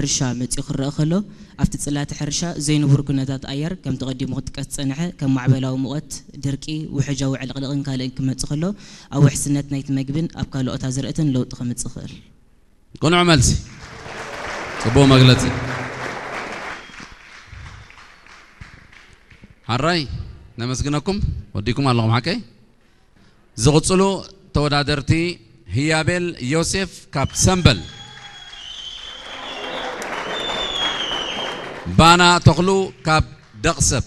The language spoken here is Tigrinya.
ሕርሻ መጺኡ ክረአ ከሎ፣ ኣብቲ ጽላተ ሕርሻ ዘይንቡር ኩነታት ኣየር፣ ከምቲ ቀዲሙ ክጥቀስ ዝጸንሐ፣ ከም ማዕበላዊ ሙቐት፣ ድርቂ፣ ውሕጃዊ ዕልቕልቕን ካልእን ክመጽእ ከሎ፣ ኣብ ውሕስነት ናይቲ መግብን ኣብ ካልኦት ኣዝርእትን ለውጢ ከምጽእ ይኽእል። ቅኑዕ መልሲ። ጽቡቕ መግለጺ። ሓራይ ነመስግነኩም። ወዲኩም ኣለኹም ሓቀይ። ዝቕጽሉ ተወዳደርቲ ህያቤል ዮሴፍ ካብ ሰምበል፣ ባና ተኽሉ ካብ ደቕሰብ።